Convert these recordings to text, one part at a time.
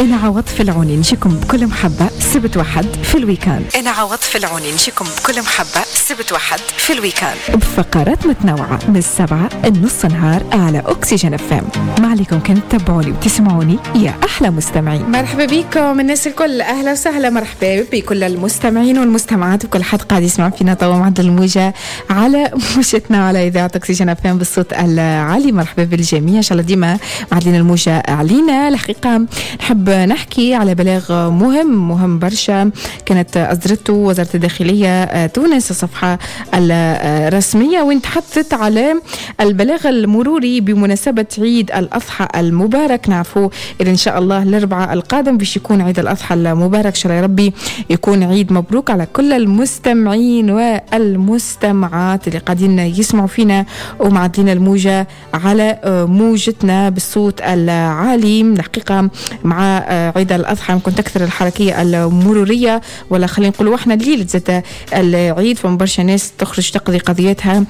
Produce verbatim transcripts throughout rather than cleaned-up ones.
أنا عوض في العوني نجيكم بكل محبة سبت وحد في ال week-end. أنا عوض في العوني نجيكم بكل محبة سبت وحد في ال week-end بفقرات متنوعة من السبعة النص نهار على أكسجين اف ام. ما عليكم كان تتبعوني وتسمعوني يا أحلى مستمعين. مرحبا بكم الناس الكل، أهلا وسهلا، مرحبا بكل المستمعين والمستمعات وكل حد قاعد يسمع فينا توا معدل الموجة على موجتنا على إذاعة أكسجين اف ام بالصوت العالي. مرحبا بالجميع، إن شاء الله ديما معدلين الموجة علينا. الحقيقة نحب نحكي على بلاغ مهم مهم برشا كانت أصدرته وزارة الداخلية تونس الصفحة الرسمية، وين تحدثت على البلاغ المروري بمناسبة عيد الأضحى المبارك. نعرفوا إن شاء الله الأربعاء القادم باش يكون عيد الأضحى المبارك، إن شاء الله يا ربي يكون عيد مبروك على كل المستمعين والمستمعات اللي قاعدين يسمعوا فينا ومعدلين الموجة على موجتنا بالصوت العالي. الحقيقة مع عيد الأضحى ممكن تكثر الحركية المرورية، ولا خلينا نقولوا احنا ليلة زاد العيد، فما برشا ناس تخرج تقضي قضيتها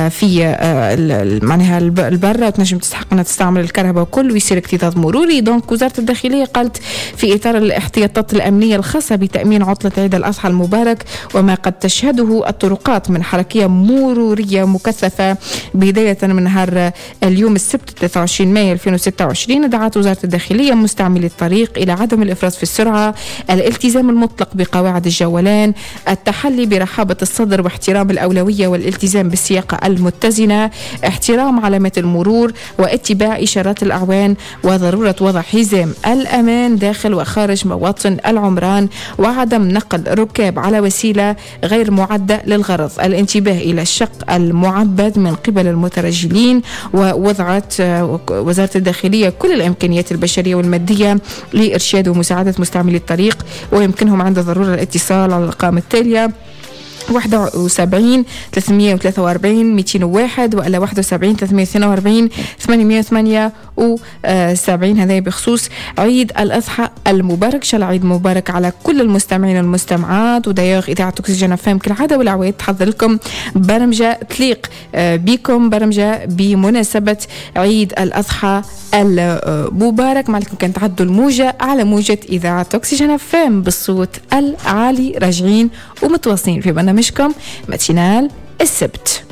في معناها البرة وتنجم تستحق انها تستعمل الكهرباء وكل ويصير اكتظاظ مروري. donc وزارة الداخلية قالت في إطار الاحتياطات الأمنية الخاصة بتأمين عطلة عيد الأضحى المبارك وما قد تشهده الطرقات من حركية مرورية مكثفة بداية من نهار اليوم السبت ثلاثة وعشرين مايو ألفين وستة وعشرين، دعت وزارة الداخلية مستعملي الطريق إلى عدم الإفراط في السرعة، الالتزام المطلق بقواعد الجولان، التحلي برحابة الصدر واحترام الأولوية والالتزام بالسياقة المتزنة، احترام علامات المرور واتباع إشارات الأعوان، وضرورة وضع حزام الأمان داخل وخارج مواطن العمران، وعدم نقل ركاب على وسيلة غير معدة للغرض، الانتباه إلى الشق المعبد من قبل المترجلين. ووضعت وزارة الداخلية كل الإمكانيات البشرية والمادية لإرشاد ومساعدة مستعملي الطريق، ويمكنهم عند ضرورة الاتصال على الأرقام التالية واحد وسبعين ثلاثمية وثلاثة وأربعين مئتين وواحد ولا واحد وسبعين ثلاثمية واثنين وأربعين ثمانمية وثمانية وسبعين. هذا بخصوص عيد الأضحى المبارك. شاء الله عيد مبارك على كل المستمعين والمستمعات. ودايوغ إذاعة أكسجين اف ام كالعادة والعواد تحضر لكم برمجة تليق بكم، برمجة بمناسبة عيد الأضحى المبارك. معلكم كان تعدوا الموجة على موجة إذاعة أكسجين اف ام بالصوت العالي. راجعين ومتواصلين في برنامجكم matinale السبت.